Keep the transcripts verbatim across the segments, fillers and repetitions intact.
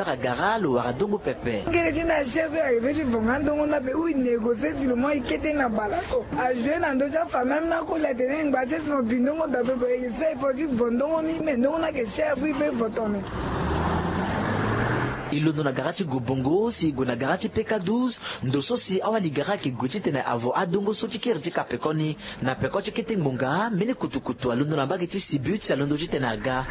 Agara lo wara dongo pepe. Ngere ti na cher so e arrive ti vonga ndongo ni ape ou e négocier si lo mu aye kete na bale oko. A jouer na ndö ti afa même na koli atene ngba ti si mo bi ndongo daa pepe e sa e fo ti vo ndongo ni mais ndongo ni ayeke cher so e pe vo tone. E londo na gara ti gobongo si e gue na gara ti peka douze. Ndo so si awali gara ayeke gue titene avo adongo so ti kiri ti kapekoni. Na peko ti kete ngbonga mbeni kutukutu alondo na mbage ti sibut si alondo titene aga.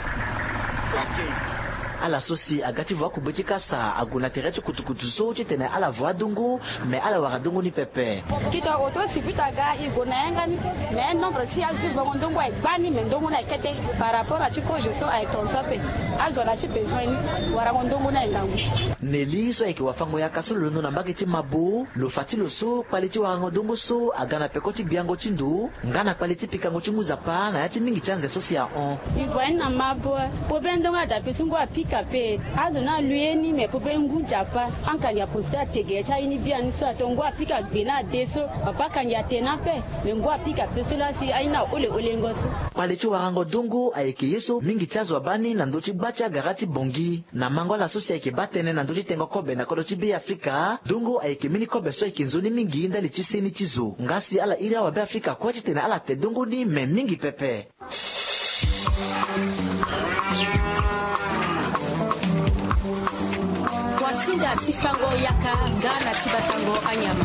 Ala so si aga ti vo akugbe ti kasa ague na tere ti kutukutu so titene ala vo adongo. Me ala wara dongo ni pepe. Kito oto sibut aga e gue na yanga ni. Me nombre ti azo ti vongo ndongo aye gbani me ndongo ni aye kete. Par rapport na ti kozo so aye tonso ape. Azo na ti besoin ni warango ndongo ni aye ngangu. Neli so ayeke wafango yaka so lo londo na mbage ti mabo lo fa ti lo so kpale ti warango dongo so aga na peko ti gbiango ti ndo nga na kpale ti pikango ti ngu zapa na ya ti mingi ti anze so si ahon. E vo aye ni na mabo. Pobe ndongo adape so ngu apika pe. Azo ni alu ye ni me pobe ngu nzapa. Ankangi aprofite atege ya ti aye ni biani so ato ngu apika gbe na ade so. Papa akangi atene ape. Me ngu apika pe so laa si aye ni ahole holengo so. Kpale ti warango dongo ayeke ye so mingi ti azo abaa ni na ndö ti gba ti agara ti bongi. Na mango ala so si ayeke baa tënë na ndö ti tengo kobe na kodro ti be afrika dongo ayeke mbeni kobe so ayeke nzoni mingi ndali ti seni ti zo nga si ala iri awabe afrika kue titene ala te dongo ni me mingi pepe. Wasinga ti fango yaka nga na ti batango anyama.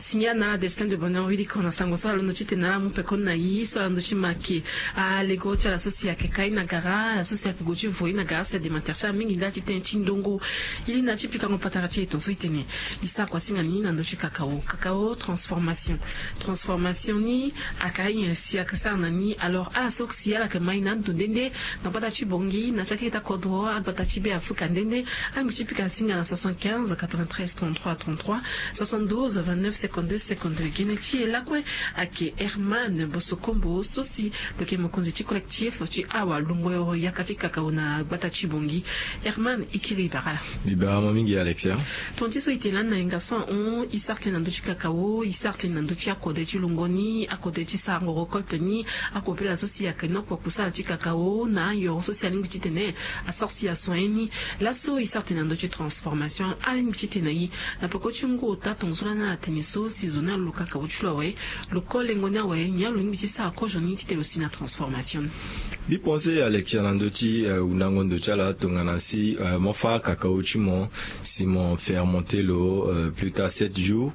Singa na ala destin de bonheur wili ko na sango so alondo titene ala mu pekoni na ye so alondo ti make. Alego ti ala so si ayeke kai na gara ala so si ayeke go ti voi na gara si adematere ti ala mingi ndali ti tënë ti ndongo. Ye na ti pikango patara ti e tonso itene. E sara kua singa ni na ndö ti kakao kakao transformation. Transformation ni aka ayen si aka sara na ni alors ala so si ala yeke mai na ando nde nde. Na gbata ti bongi na ti akete akodro agbata ti be afrika nde nde. Alingbi ti pika singa na soixante-quinze quatre-vingt-treize trente-trois trente-trois, soixante-douze vingt-neuf cinquante-deux cinquante-deux gene ti e lakue. Ayeke herman bosokombo so si lo yeke mokonzi ti collectif ti awa longbo yaka ti kakao na gbata ti bongi. Herman e kiri e bara ala. E bara mo mingi alexia. Tonga ti so e tene lani na yanga so ahon e sara tënë na ndö ti kakao e sara tënë na ndö ti akode ti longo ni akode ti sarango récolte ni. Akopela so si ayeke nokpo kusala ti kakao na ayoro so si alingbi titene asara si asoin ni. Laso e sara tënë na ndö ti transformation alingbi titene aye na peko ti ngu ota tonga so lani ala tene so si zo ni alo kakao ti lo awe. Lo ko lengo ni awe nyen lo lingbi ti sara kozo ni titene lo si na transformation ni? Mbi pense alexia na ndö ti hundango ndo ti ala tongana si mo fâ kakao ti mo si mo fermente lo plus tard sept jours.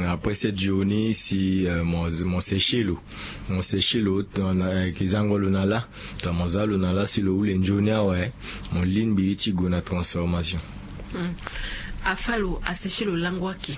Après sept jours ni si mo seche lo mo seche lo. Ayeke zango lo na lâ. Tongana mo za lo na lâ si lo hule nzoni awe mo lingbi ti gue na transformation. Afâ lo aseche lo lango ake.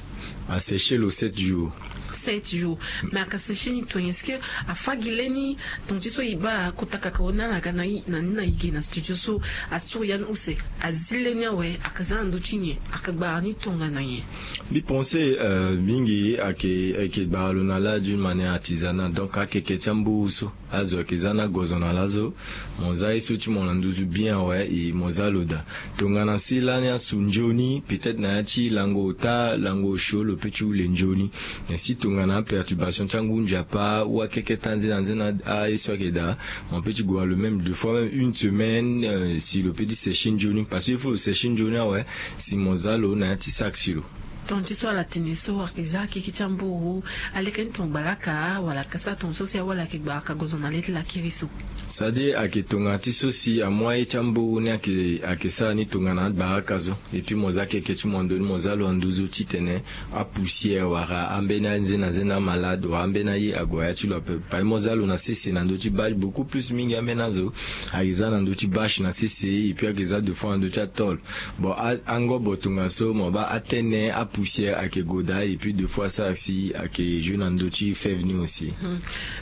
Aseche lo sept jours. Sept jours. Mais aka seche ni tongana est-ce que afâ gi lê ni? Tonga ti so e baa kota kakao ni ala ga na ni na e ge na studio so asuru ya ni use azi lê ni awe aka za na ndö ti nyen? Aka gbara ni tongana nyen? Mbi pense mingi ayeke gbara lo na lâ d'une manière artisanale donc akeke ti amburu so. Azo ayeke za ni agozo na laso. Mo za ye so ti mo na nduzu bien awe e mo za lo daa. Tongana si lani asu nzoni peut-être na ya ti lango ota lango osio lo pe ti hule nzoni. Mais si tongana aperturbation ti angu nzapa ou akeke ti anzena nzena aye so ayeke daa. Mo pe ti gue na lo même deux fois même une semaine si lo pe ti seche nzoni parce que il faut lo seche nzoni awe. Si mo za lo na ya ti sac ti lo. Tonga ti so ala tene so ayeke za akeke ti amburu. Aleke ni tongana gbalaka wala aka sara tonga so si awali ayeke gbalaka gozo na le ti lakiri so. C'est-à-dire ayeke tongana ti so si amu aye ti amburu ni ayeke sara ni tongana agbaraka so. Et puis mo za keke ti mo ndo ni mo za lo na nduzu titene apoussière wala ambeni anzena nzena amalade wala ambeni aye ague na ya ti lo ape. Pari mo za lo na sese na ndö ti bâche beaucoup plus mingi ambeni azo. Ayeke za na ndö ti bâche na sese et puis ayeke za deux fois na ndö ti atôle. Bon angobo tongaso mo baa atene apoussière ayeke gue daa et puis deux fois asara si ayeke joue na ndö ti fève ni aussi.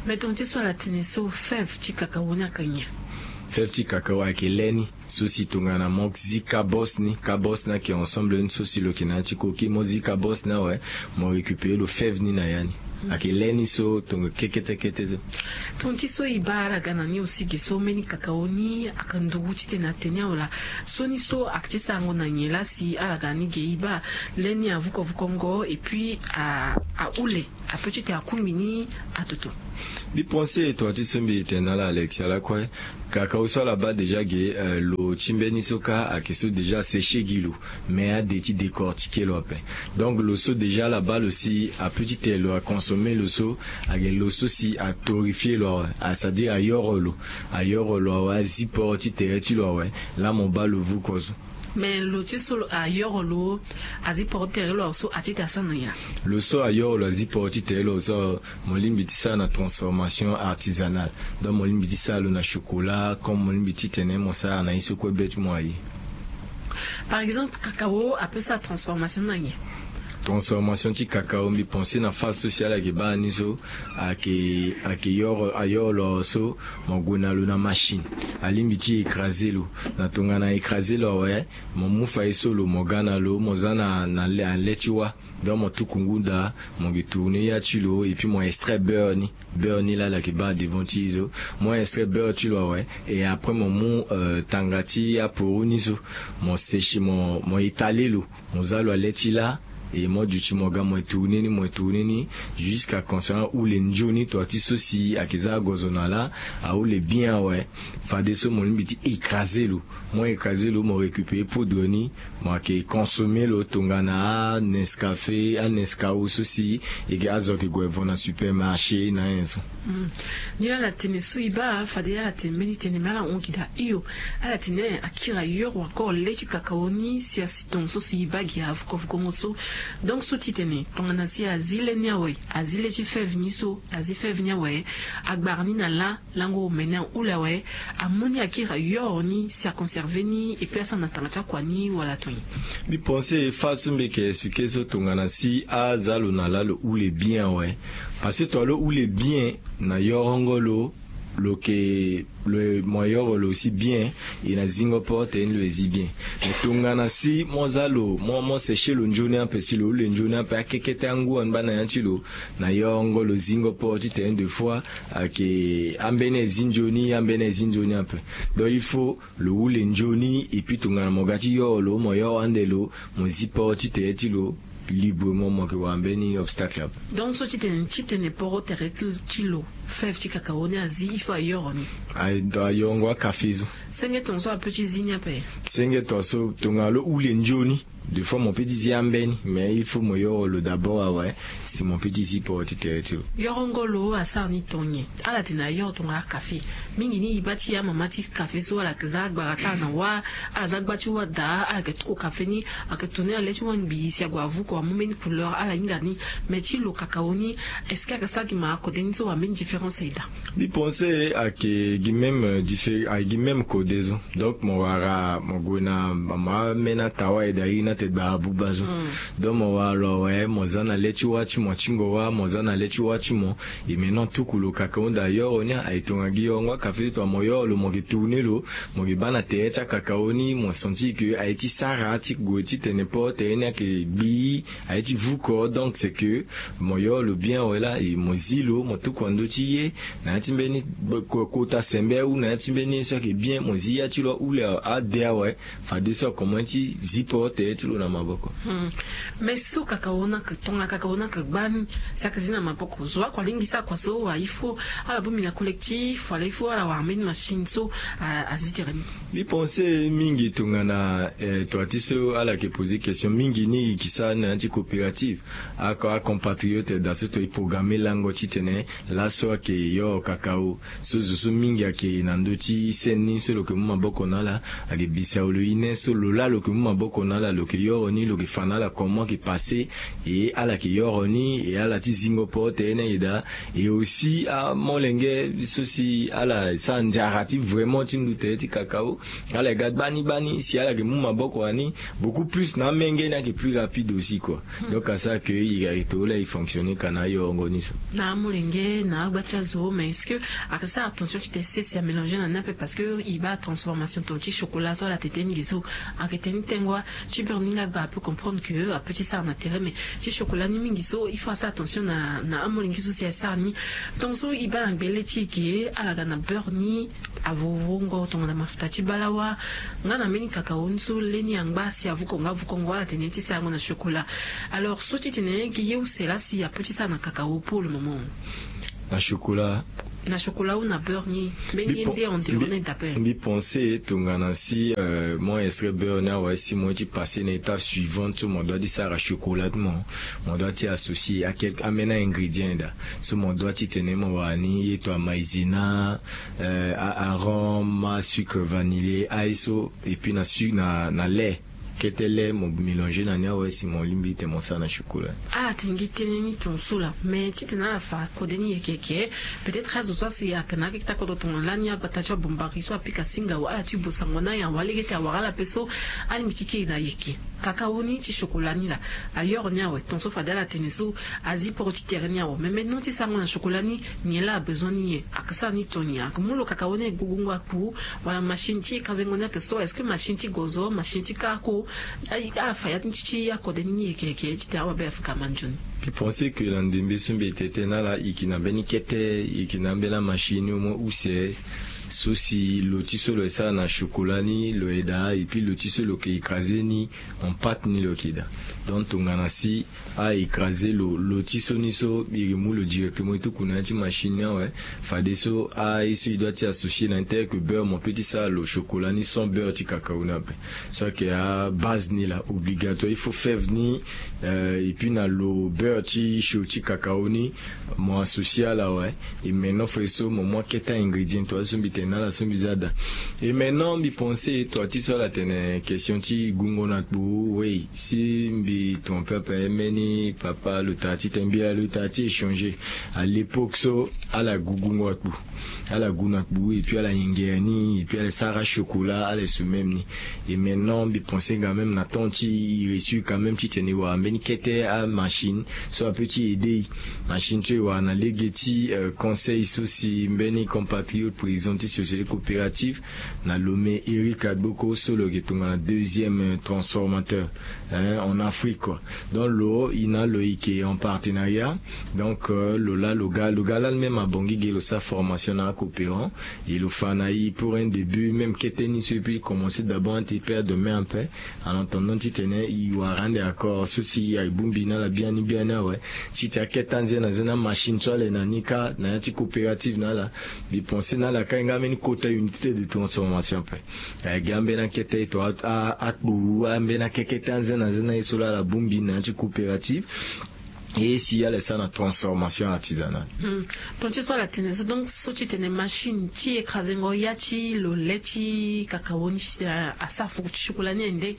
Mais tonga ti so ala tene so fève ti kakao ni ayeke nyen? Fève ti kakao ayeke lê ni. So si tongana mo zi kabos ni kabos ni ayeke ensemble ni so si lo yeke na ya ti koki mo zi kabos ni awe. Mo récupérer lo fève ni na ya ni. Ayeke le ni so tongo kekete kete so. Tongo ti so e baa ala ga na ni aussi ge so mbeni kakao ni ayeke nduru titene atene ni awe laa. So ni so ayeke ti sarango na nyen laa si ala ga na ni ge e baa le ni avukovukongo et puis ahule ape titene akungbi ni atoto. Mbi pense tonga ti so mbi tene na ala Alexia lakue. Kakao so ala baa déjà ge, lo ti mbeni so kâ ayeke so déjà aseche gi lo. Mais ade ti décortiquer lo ape. Donc lo so déjà ala baa lo si ape titene lo aconsommer lo so, ayeke lo so si atorréfier lo awe, c'est-à-dire ayoro lo. Ayoro lo awe, azi port ti tere ti lo awe. Laa mo baa lo vuko so. Mais lo ti so lo ayoro lo azi port ti tere lo awe so atitene asara na nyen? Lo so ayoro lo azi port ti tere lo awe so, mo lingbi ti sara na transformation artisanale. Donc mo lingbi ti sara lo na chocolat comme mo lingbi titene mo sara na ye so kue be ti mo aye. Par exemple kakao ape sara transformation na nyen? Transformation ti kakao mbi pense na phase so si ala yeke baa ni so, ayeke ayoro lo awe so, mo gue na lo na machine. Alingbi ti écraser lo. Na tongana écraser lo awe, mo mu faye so lo mo ga na lo mo za na le ti wâ. Donc mo tuku ngu daa, mo yeke tourner ya ti lo et puis mo extrait beurre ni. Beurre ni laa ala yeke baa devant ti e so. Mo extrait beurre ti lo awe. Et après mo mu tanga ti aporo ni so, mo seche mo étaler lo. Mo za lo na le ti laa. Et mo duti mo ga mo tourner ni mo tourner ni, jusqu'à concernant ahule nzoni tonga ti so si ayeke za agozo na laa. Ahule bien awe. Fadeso mo lingbi ti écraser lo. Mo écraser lo mo récupérer poudre ni. Mo yeke consommer lo tongana anescafe anescao so si e yeke azo yeke gue vo na supermarché na anyen so. Ni laa ala tene so e baa fade ala tene mbeni tene me ala hon gi daa hio. Ala tene akiri ayoro encore le ti kakao ni si asi tongo so si e baa gi avukovukongo so. Donc so ti tene tongana si azi le ni awe, azi le ti fève ni so, azi fève ni awe, agbara ni na laa. Lango omene ahule awe. Amu ni akiri ayoro ni si aconserver ni et puis asara na tanga ti akua ni wala ato nyen? Mbi pense phase so mbi yeke expliquer so tongana si aza lo na laa lo hule bien awe. Parce que tongana lo hule bien na yorongo lo, lo yeke lo mo yoro lo aussi bien. E na zingo port tene ni lo e zi bien. Mais tongana si mo za lo mo seche lo nzoni ape si lo hule nzoni ape akekete angu wani baa na ya ti lo. Na yorongo lo zingo port titene deux fois. Ayeke ambeni azi nzoni ambeni azi nzoni ape. Donc il faut lo hule nzoni et puis tongana mo ga ti yoro lo mo yoro ande lo, mo zi port ti tere ti lo librement mo yeke wara mbeni obstacle ape. Donc so titene titene poro tere ti lo fève ti kakao ni azi il faut ayoro ni. Ayorongo akafe so. Senge tonga so ape ti zi ni ape. Senge tonga so tongana lo hule nzoni. Deux fois mo pe ti zi ambeni mais il faut mo yoro lo d'abord awe. Si mo pe ti zi poro ti tere ti lo. Yorongo lo asara ni tongo nyen? Ala tene ayoro tonga akafe. Mingi ni e baa ti amama ti kafe so ala yeke za agbara ti ala na wâ. Ala za gba ti wâ daa ala yeke tuku kafe ni. Ayeke tourner na le ti wâ ngbii si ague avuko amu mbeni couleur ala hinga ni. Mais ti lo kakao ni est-ce que ayeke sara gi ma akode ni so wala mbeni différence aye daa? Mbi pense ayeke gi même diffé ayeke gi même kode so. Donc mo wara mo gue na mo ambeni atawa aye daa iri ni atene gbara buba so. Donc mo wara lo awe mo za na le ti wâ ti mo atingo wâ mo za na le ti wâ ti mo. E me non tuku lo kakao daa yoro ni aye tonga gi yorongo akafe ti tongana mo yoro lo mo yeke tourner lo. Mo yeke baa na tere ti akakao ni mo sentir ke aye ti sara ti gue titene port tere ni ayeke gbii. Aye ti vuko donc c'est que mo yoro lo bien awe laa e mo zi lo mo tuku na ndö ti ye. Na ya ti mbeni kota sembe ou na ya ti mbeni ye so ayeke bien mo zi ya ti lo ahule ade awe. Fadeso akomanse ti zi port tere ti lo na maboko. Mais so kakao ni ayeke tongana kakao ni ayeke gbani si ayeke zi na maboko zo akua lingbi sara kua so wala il faut ala bongbi na collectif wala il faut ala wara mbeni machine so azi tere ni? Mbi pense mingi tongana tonga ti so ala yeke poser question mingi ni e yeke sara ni na ya ti coopérative. Akompatriote daa so tonga e programmer lango titene laso ayeke yoro kakao. So zo so mingi ayeke na ndö ti seni ni so lo yeke mu maboko na ala. Ayeke bisaolo ine so lo laa lo yeke mu maboko na ala lo yeke yoro ni lo yeke fa na ala comment ayeke passe. E ala yeke yoro ni e ala ti zingo port tere ni ayeke daa. E aussi amolenge so si ala sara nzara ti vraiment ti ndu tere ti kakao. Ala yeke ga gbani gbani si ala yeke mu maboko na ni beaucoup plus na amenge ni ayeke plus rapide aussi koi. Donc asara ke e ga e too laa e fonctionner ka na ayorongo ni so. Na amolenge na agba ti azo mais est-ce que ayeke sara attention titene sese amélanger na ni ape parce que e baa transformation tonga ti chocolat so ala tete ni ge so. Ayeke tene ni tengo wa ti Ni nga gba ape comprendre ke ape ti sara na tere mais ti chokola ni mingi so il faut asara attention na amolenge so si asara ni. Tonga so e baa na gbele ti e ke ala ga na beurre ni, avovo ngo tongana mafuta ti balawa, nga na mbeni kakao ni so le ni angba si avuko nga avuko ngo ala tene ti sara ngo na chokola. Alors so ti tene gi ye use laa si ape ti sara na kakao pour le moment? Na chokola. Na chokola ou na beurre ni? Mbeni ye nde en dehors na e dape? Mbi pense tongana si mo extrait beurre ni awe si mo ye ti passer na étape suivante so mo doit ti sara chocolat ti mo, mo doit ti associer a quelque ambeni a-ingrédient daa. So mo doit ti tene mo wara ni ye to a maïzena, a arome, a sucre vanillé, aye so, et puis na sucre na na lait. Kete lait mo mélanger na ni awe si mo lingbi ti tene mo sara na chocolat. Ala tene gi tënë ni tonga so laa mais ti tene ala fa kode ni yeke yeke. Peut-être azo so asi ayeke na akeketa kodro tongana lani agbata ti abombarie so apika singa awe ala ti bosango na aye awe alege ti awara ala ape so alingbi ti kiri na yeke. Kakao ni ti chocolat ni laa ayoro ni awe tonga so fade ala tene so azi poro ti tere ni awe mais maintenant ti sarango na chocolat ni nyen laa abesoin ni nyen? Aka sara ni to nyen? Aka mu lo kakao ni aye gugungo akpu? Wala machine ti écraser ngo ni ake so est-ce que machine ti gozo machine ti kara ko? Ala fa ya ti akode ni ni yeke yeke ti tene awabe afuka manzoni. Mbi pense ke na ndembe so mbi tete na ala e yeke na mbeni kete e yeke na ambeni amachine au moins use so si lo ti so lo ye sara na chocolat ni lo ye daa et puis lo ti so lo yeke écraser ni en pâte ni lo yeke daa. Donc tongana si a écraser lo lo ti so ni so e re mu lo directement e tuku na ya ti machine ni awe. Fadeso aye so e doit ti associer na intérêt ke beurre mo pe ti sara lo chocolat ni sans beurre ti kakao ni ape. So ayeke abase ni laa obligatoire il faut fève ni et puis na lo beurre ti cho ti kakao ni. Mo associer ala awe. Et maintenant fade so mo mu akete a-ingrédient to azo so mbi tene na ala so mbi za daa. Et maintenant mbi pense to ati so ala tene question ti gungo na kpu wei. Si mbi trompe ape mbeni papa lo tara ti tene mbi ala lo tara ti échanger. À l'époque so ala gu gungo akpu. Ala gu na kpu et puis ala yengere ni et puis ala sara chocolat ala ye su même ni. Et maintenant mbi pense nga même na temps ti e réussir quand même ti tene e wara mbeni kete amachine so ape ti aider e. Machine so e wara na lege ti conseil so si mbeni compatriote président ti société coopérative na lome Éric Agboko so lo yeke tongana deuxième transformateur en Afrique kua. Donc lo e na lo e yeke en partenariat. Donc lo laa lo ga lo ga lani même abongi ge lo sara formation na acoopérant. E lo fa na e pour un début même kete ni so e pe e commencer d'abord ante e perdre main ape. En attendant ti tene e wara ande accord so si aye bongbi na ala biani biani awe. Ti ti akete anze na nze na machine so ala ye na ni kâ na ya ti coopérative na ala. Mbi pense na ala kâ e nga mbeni kota unité de transformation ape. Aye gi ambeni akete to akpu ambeni akekete anze na nze na ye so laa ala bongbi na ya ti coopérative. E si ala ye sara na transformation artisanale. Ton ti so ala tene so donc so ti tene machine ti écraser ngo ya ti lo le ti kakao ni ti tene asara fuku ti chocolat ni aye nde?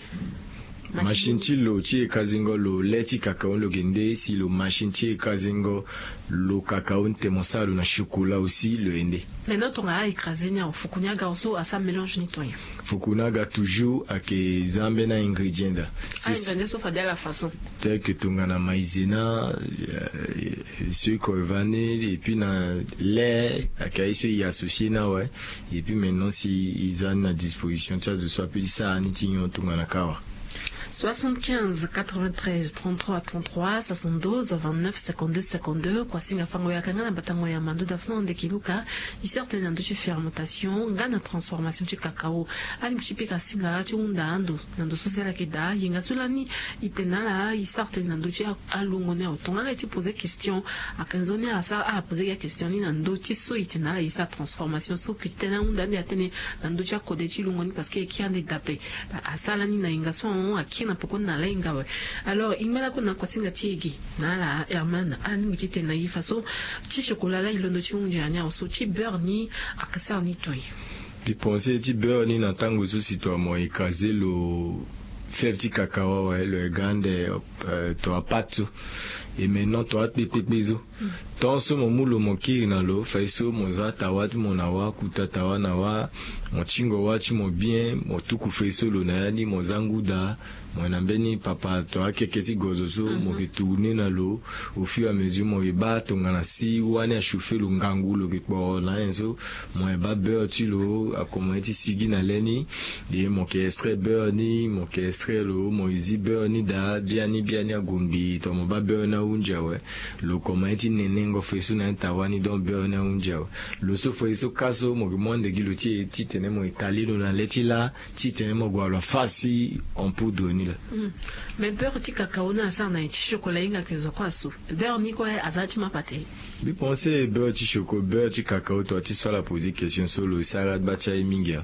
Machine ti lo ti écraser ngo lo le ti kakao ni lo yeke nde si lo machine ti écraser ngo lo kakao ni tene mo sara lo na chocolat aussi lo ye nde? Maintenant tongana a-écraser ni awe fuku ni aga so asara mélange ni to nyen? Fuku ni aga toujours ayeke za ambeni a-ingrédient daa. A-ingrédient so fade ala façon tel que tongana maïzena, sucre vanille et puis na lait ayeke aye so e associer ni awe. Et puis maintenant si e za ni na disposition ti azo so ape ti sara ni ti nyon tongana kâ awa. Soixante-quinze quatre-vingt-treize trente-trois trente-trois, soixante-douze vingt-neuf cinquante-deux cinquante-deux. Kua singa fango yaka nga na batango ya mando dafuna ande kiluka. E sara tënë na ndö ti fermentation nga na transformation ti kakao. Alingbi ti pika singa ti hunda ando na ndo so si ala yeke daa yenga so lani. E tene na ala e sara tënë na ndö ti alongo ni awe tongana ala ye ti poser question. Ayeke nzoni ala sara ala poser gi akestion ni na ndö ti so e tene na ala e sara transformation so ke ti tene ahunda ande atene na ndö ti akode ti lungo ni parce que e kiri ande dape. Asara lani na yenga so ahon akiri na pekoni na ala hinga awe. Alors e ngba lakue na kuasinga ti e ge na ala herman alingbi ti tene na e faso ti chocolat laa e londo ti hunzi na ni awe so ti beurre ni. Ayeke sara ni to nyen? Mbi pense ti beurre ni na tango so si to amo écraser lo fève ti kakao awe lo ye ga ande to apate so. E me non to akpe kpekpe so. Tant so mo mu lo mo kiri na lo fai so mo za tawa ti mo na wa kuta tawa na wa. Mo tingo wa ti mo bien mo tuku fai so lo na ya ni mo za ngu daa. Mo yena mbeni papa to akeke ti gozo so mo ke tourne na lo. Au fur et à mesure mo ke baa tongana si wani achauffer lo ngangu lo ke kporo na ayen so. Mo yena baa beurre ti lo akomanse ti sigi na le ni. E mo ke extrait beurre ni mo ke extrait lo mo ke zi beurre ni daa biani biani ague ngbii to mo baa beurre ni ahunzi awe. Lo komanse ti nenengo fai so na yen tawa ni donc beurre ni ahunzi awe. Lo so fai so ka so mo ke mu ande gi lo ti e titene mo ke kali lo na le ti laa titene mo gue wala fasi en poudre ni laa. Mais beurre ti kakao ni asara na nyen ti chocolat hinga ke zo kue asu? Beurre ni kue aza ti mapa te. Mbi pense beurre ti choco beurre ti kakao to ti so ala poser question so lo sara gba ti aye mingi.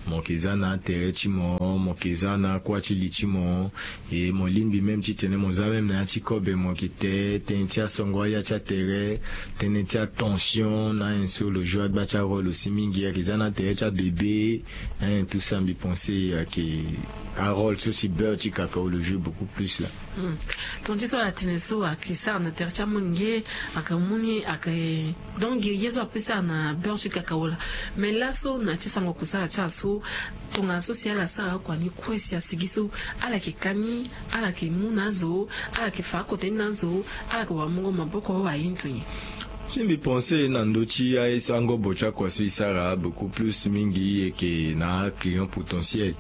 Mo ke za na atere ti mo mo ke za na akua ti li ti mo. E mo lingbi même titene mo za même na ya ti kobe mo ke te tënë ti asongo aya ti atere. Tënë ti atension na ayen so lo joue agba ti arôle aussi mingi ayeke za na atere ti abebe. Ayen tout ça mbi pense ayeke arôle so si beurre ti kakao lo joue beaucoup plus laa. Tongana ti so ala tene so ayeke sara na tere ti amolenge. Ayeke mu ni ayeke donc ye so ape sara na beurre ti kakao laa. Mais laso na ya ti sango kusala ti ala so tongana so si ala sara oko ani kue si asigi so ala yeke ka ni ala yeke mu na azo ala yeke fa akote ni na azo ala yeke wara mungo maboko ahindu nyen? Si mbi pense na ndö ti aye so angobo ti akua so e sara beaucoup plus mingi e yeke na aclient potentiel.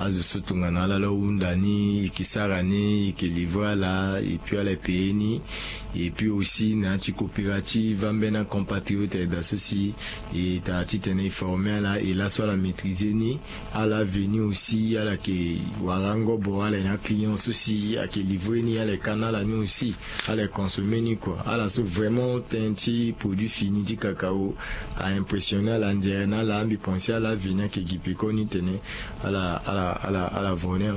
Azo so tongana ala la hunda ni e yeke sara ni e yeke livrer ala et puis ala yeke payer ni. Et puis aussi na ya ti coopérative ambeni acompatriote ayeda so si e tara titene e former ala e laso ala maîtriser ni. Ala veni aussi ala yeke wara angobo ala yeke na aclient so si ayeke livrer ni ala yeke ka na ala ni aussi. Ala yeke consommer ni kua ala so vraiment tënë ti produit fini ti kakao a impressionner ala anzere na ala mbi pense ala veni ayeke gi peko ni tene ala ala ala ala vo ni.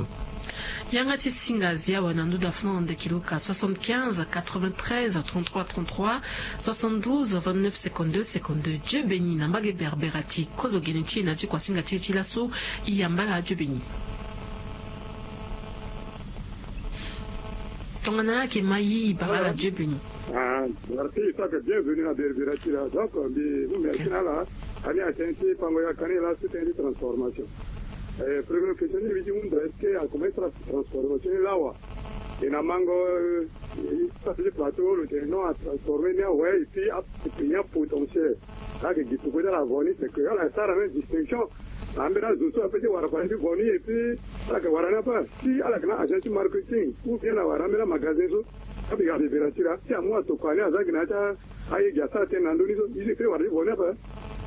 Yanga ti singa azi awe na nduda funa na ndeki luka soixante-quinze quatre-vingt-treize trente-trois trente-trois soixante-douze vingt-neuf cinquante-deux cinquante-deux. Dieu béni na mbage berbera ti kozo gene ti e na ti kuasinga ti e ti laso. E yamba ala Dieu béni. Tongana ayeke ma yi e bara ala Dieu béni. Ah, merci, ça fait bienvenue na berbera ti la donc mbi mu merci na ala. Ani atene ti pango ya kani la sous tene ti transformation. Première question ni mbi ti hunda est-ce que akomanse ti transformation ni lawa? E na mango. Sara ti plateau lo tene non atransformer ni awe et puis apeni apotentiel. Ayeke gi peko ti ala vo ni c'est que ala sara même distinction. Na ambeni azo so ape ti wara fade ti vo ni et puis ala yeke wara ni ape si ala yeke na agent ti marketing ou bien ala wara ambeni amagasin so. Ape ga bebera ti la si amu atokua ni aza gi na ya ti aye gi asara tënë na ndö ni so i zo e pe wara ti vo ni ape.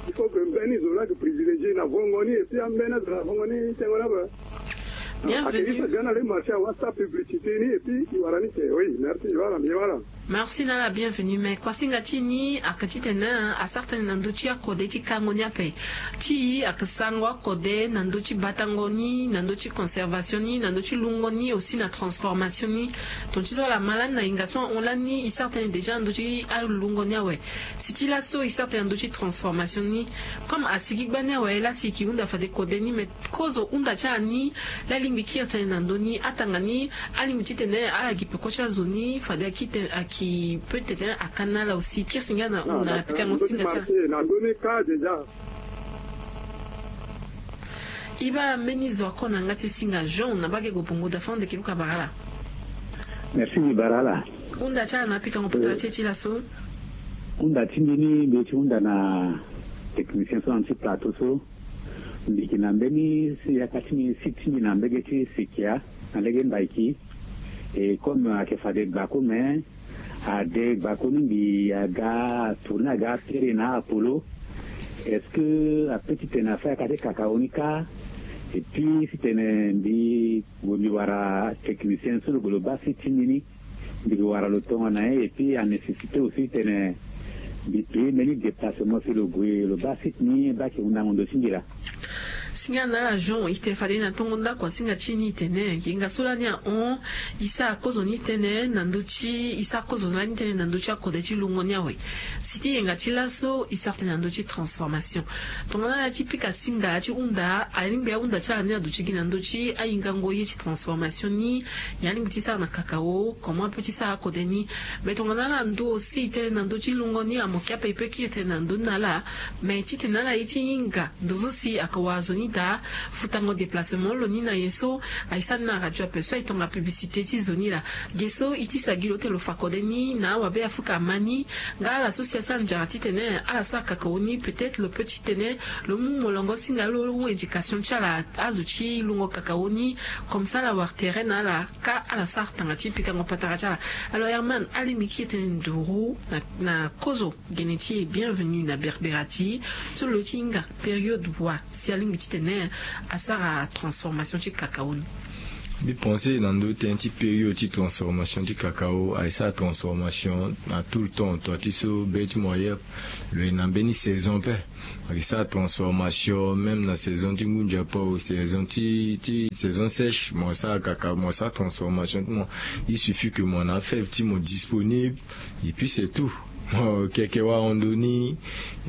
Il faut que mbeni zo laa yeke privilégier na vongo ni et puis ambeni azo na vongo ni tengo ni ape. Bienvenue. Ga na le marché awa sa publicité ni et puis i wara ni te oui merci voilà mbi wala. Merci na ala bienvenue mais kuasinga ti e ni ayeke titene asara tënë na ndö ti akode ti kango ni ape. Ti e ayeke sarango akode na ndö ti batango ni na ndö ti conservation ni na ndö ti lungo ni aussi na transformation ni. Tonga ti so ala ma lani na hinga so ahon lani e sara tënë déjà na ndö ti alungo ni awe. Si ti laso e sara tënë na ndö ti transformation ni. Comme asigi gbani awe lasi e yeke hunda fade kode ni mais kozo hunda ti ala ni. Laa alingbi kiri tënë na ndö ni atanga ni. Alingbi titene ala gi peko ti azo ni fade aki tene aki peut tene aka na ala aussi kiri si nga na hunda na pikango singa ti ala. E baa mbeni zo ako na yanga ti singa jean na mbage gobongo dafa ndeke luka bara ala. Merci mbi bara ala. Hunda ti ala na apikango patara ti e ti laso. Hunda ti mbi ni mbi ye ti hunda na technicien so na ti plateau so. Mbi yeke na mbeni yaka ti mbi si ti mbi na mbege ti sekia na lege mbaiki. E comme ayeke fade gbako me ade gbako ni mbi aga atourne aga apere na apolo. Est-ce que ape titene afa yaka ti kakao ni kâ? Et puis titene mbi gue mbi wara technicien so lo gue lo baa si ti mbi ni. Mbi ke wara lo tongo na ye et puis anécessité aussi tene mbi paye mbeni déplacement si lo gue lo baa site ni baa ayeke hundango ndo ti mbi laa. Singa na ala Jean, e tene fade na tongo ndako asinga ti e ni e tene, yenga so lani ahon, e sara kozo ni tënë na ndö ti, e sara kozo lani tënë na ndö ti akode ti lungo ni awe. Si ti yenga ti laso e sara tënë na ndö ti transformation. Tongana ala ti pika singa ti hunda, alingbi ahunda ti ala ni aduti gi na ndö ti ahingango ye ti transformation ni. Ya alingbi ti sara na kakao, comment ape ti sara akode ni. Mais tongana ala ndo aussi tënë na ndö ti lungo ni, amoke ape e peut kiri tënë na ndö ni na ala. Mais titene ala ye ti hinga ndo so si ayeke wara zo ni daa, futango déplacement lo ni na nyen so aye sara ni na radio ape so aye tonga publicité ti zo ni laa. Ge so e ti sa gi lo ute lo fa kode ni na awabe afuka ama ni. Nga ala so si asara nzara titene ala sara kakao ni, peut-être lo peut titene lo mu molongo singa lo, lo mu éducation ti ala, azo ti lungo kakao ni. Comme ça ala wara terrain na ala, ka ala sara tanga ti pikango patara ti ala. Alors Herman, alingbi kiri tënë nduru na, na kozo. Gene ti e, bienvenue na Berbera ti e. So lo ti hinga période wa si alingbi titene asara transformation ti kakao ni? Mbi pense na ndö tënë ti période ti transformation ti kakao, aye sara transformation na tout le temps. Toi ti so be ti mo ailleurs, lo ye na mbeni saison ape. Aye sara transformation même na saison ti ngunza ape, saison ti, ti saison sèche, mo sara kakao, mo sara transformation ti mo. Il suffit que mo na afève ti mo disponible. Et puis c'est tout. Mo keke wara ndo ni.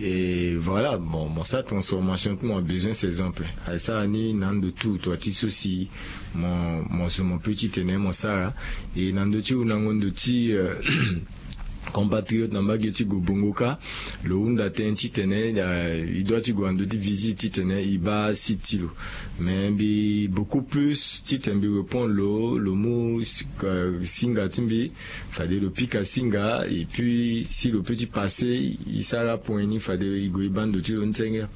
Et voilà, bon, mo sara transformation ti mo, abesoin saison ape. Aye sara ni na ndo tout, toi ti so si mo, mo zo mo peut titene mo sara. Et na ndo ti hundango ndo ti, euh, compatriote na mbage ti Gobongo ka, lo hunda tënë titene, euh, e doit ti gue na ndo ti visite titene e baa site ti lo. Mais mbi beaucoup plus titene mbi répondre lo, lo mu, euh, singa ti mbi, fade lo pika singa, et puis si lo peut ti passer, e sara point ni fade e gue e baa ndo ti lo ni senge.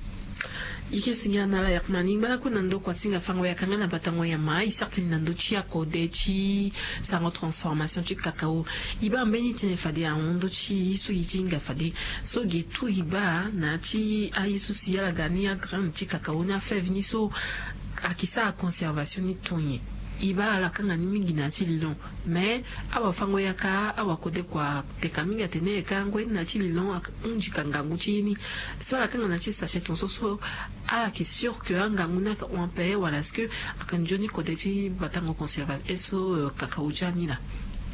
E ke singa na ala Herman, e ngba lakue na ndo kua singa fango yaka nga na batango nyama, e sara tënë na ndo ti akode ti sarango transformation ti kakao. E baa mbeni tënë fade ahon ndö ti e so e ti hinga fade. So ge tout e baa na ya ti aye so si ala ga ni agraine ti kakao ni, afève ni so ayeke sara conservation ni tonye. E baa ala kanga ni mingi na ya ti lilon. Mais awafango yaka, awakode kua teka mingi atene e ka ngoi ni na ya ti lilon, aka hunzi ka ngangu ti ye ni. So ala kanga na ya ti sachet tongaso so, ala yeke sûr que angangu ni ayeke hon ape wala est-ce que ayeke nzoni kode ti batango conservation so, euh, kakao ti ala ni laa?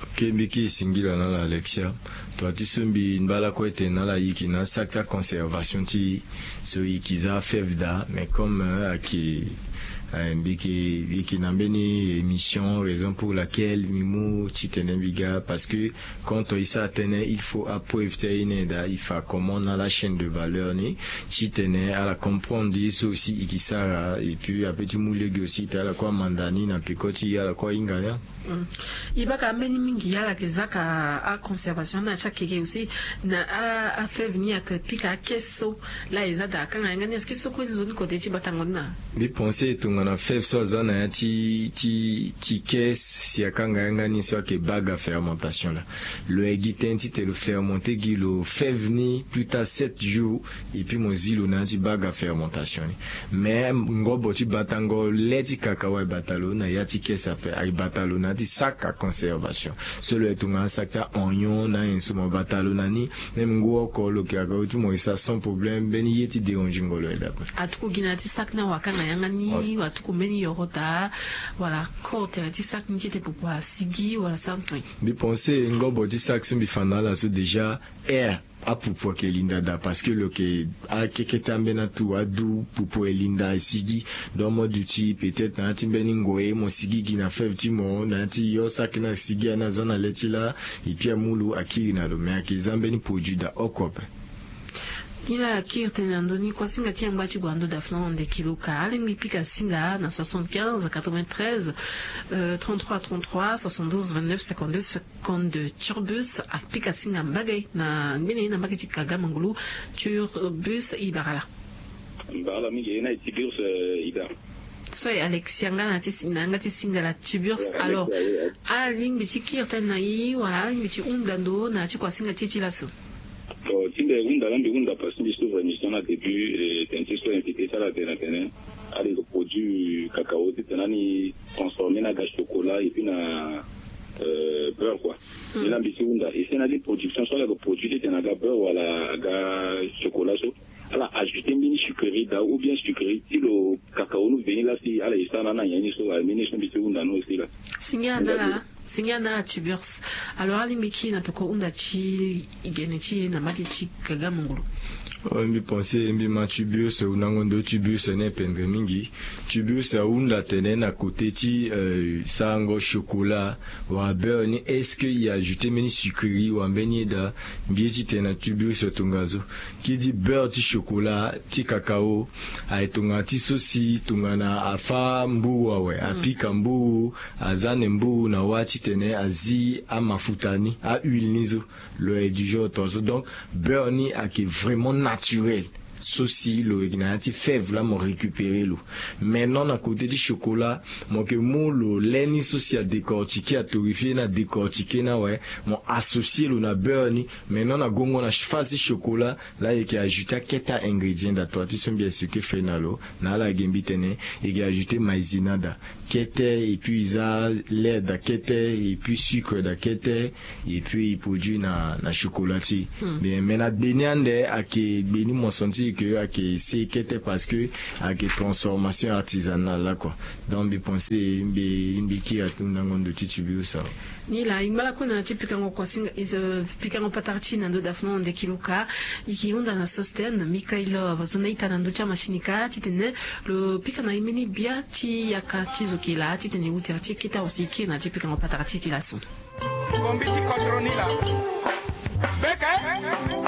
Ok, mbi ke singila na ala Alexia. Toi ti so mbi ngba lakue tene na ala e yeke na asac ti aconservation ti e so e yeke za afève daa, mais comme, euh, ayeke, euh, mbi yeke, mbi yeke na mbeni émission, raison pour laquelle mbi mu titene mbi ga, parce que quand e sara tënë, il faut apreuve ti aye ni daa, e fa comment na ala chaîne de valeur ni, titene ala comprendre ye so si e yeke sara, et puis ape ti mu lege aussi titene ala kue amanda ni na peko ti e, ala kue ahinga ni. Mm. E baa ka mbeni mingi ala yeke za ka aconservation na ti akeke aussi, na a, afève ni ayeke pika akese so laa e za daa akanga yanga ni, est-ce que so kue nzoni kode ti batango ni na? Mbi pense tongana fève so aza na ya ti, ti, ti caisse, si akanga yanga ni so ayeke bague à fermentation laa, lo ye gi tënë titene lo fermenter gi lo fève ni plus tard sept jours, et puis mo zi lo na ya ti bague à fermentation ni. Mais ngobo ti batango le ti kakao aye bata lo na ya ti caisse ape, aye bata lo na ya ti sac à conservation. So lo ye tongana sac ti aoignon na ayen so, mo bata lo na ni. Même ngu oko lo yeke kakao ti mo e sara sans problème, mbeni ye ti dérangingo lo aye daa ape. Atuku gi na ya ti sac ni, awakanga yanga ni, atuku mbeni yoro daa, wala koro tere ti sac ni ti tene popo asigi wala santu. Mbi pense ngobo ti sac so mbi fa na ala so déjà, air, apupu ayeke linda daa, parce que lo yeke akeke ti ambeni atu adu, pupu aye linda, asigi. Donc mo duti peut-être na ya ti mbeni ngoi mo sigi gi na fève ti mo, na ya ti yo sac ni asigi, ani aza na le ti laa, et puis amu lo akiri na lo, mais ayeke za mbeni produit daa oko ape. Ni laa akiri tënë na ndö ni. Kuasinga ti yangba ti gue na ndö daa fana na ndeke lo ka, alingbi pika singa na soixante-quinze quatre-vingt-treize, euh, trente-trois trente-trois, soixante-douze vingt-neuf cinquante-deux. Konde Turbus apika singa mbage na mbeni na mbage ti Kagamangulu. Turbus, e bara ala. Mbara mingi, e na e Tiburce, euh, Ida. So e Alexia nga na ti si-, na yanga ti singa la Tiburce. Ouais, alors, Alexia, oui, ouais. Alingbi ti kiri tënë na e wala alingbi ti hunda ndo na ti kuasinga ti e ti laso? Bon, ti mbi hunda la, mbi hunda parce que mbi s'ouvre émission na début, euh, tënë ti so invité ti ala atene atene alingbi produit cacao titene ani transformer na aga chocolat et puis na, euh, beurre quoi. Hmm. Ni la mbi si hunda, e si na li production so ala yeke produit titene aga beurre wala aga chocolat so. Ala ajouter mbeni sucrerie daa ou bien sucrerie ti lo kakao ni veni laa si ala ye sara na ala nyen ni so aye mbeni so mbi si hunda ni aussi laa. Singia na ala, singia na ala tubers. Alors alingbi kiri na peko hunda ti gene ti e na mbage ti Kagamongolo. Mbi pense mbi ma tubers, hundango ndo tubers ni ependre mingi. Tubers ahunda tene na kote ti sarango chocolat wala beurre ni, est-ce que e ajouter mbeni sucrerie wala mbeni ye daa? Mbi ye titene na tubers tongaso. Ki di beurre ti chocolat ti kakao aye tongana ti so si tongana afâ mburu awe, apika mburu, aza ne mburu na wâ titene azi amafuta ni, ahuile ni so. Lo aye du genre tongaso. Donc beurre ni ayeke vraiment naturel. So si lo yeke na ya ti fève laa mo récupérer lo. Maintenant na kote ti chocolat, mo yeke mu lo lê ni so si adécortiquer, atorréfier ni, adécortiquer ni awe, mo associer lo na beurre ni. Maintenant na gongo na phase ti chocolat laa e yeke ajouter akete a-ingrédient daa. Tonga ti so mbi expliquer fade na lo, na ala ge mbi tene e yeke ajouter maïzena daa kete, et puis e za lait daa kete, et puis sucre daa kete, et puis e produit na na chocolat ti e. Mais mais na gbe ni ande ayeke gbe ni mo senti ke ayeke se kete parce que ayeke transformation artisanale laa quoi. Donc mbi pense mbi mbi kiri atundango ndo ti tubers awe. Ni laa e ngba lakue na ti pikango kuasinga, pikango patara ti e na ndo dafno ndeki luka. E yeke hunda na Sostène Mikael, zo na ita na ndö ti amachine ka titene lo pika na e mbeni bia ti yaka ti zo ke laa titene e wu tere ti e kete awe si e kiri na ti pikango patara ti e ti laso. Kombi ti kodro ni laa. Beke.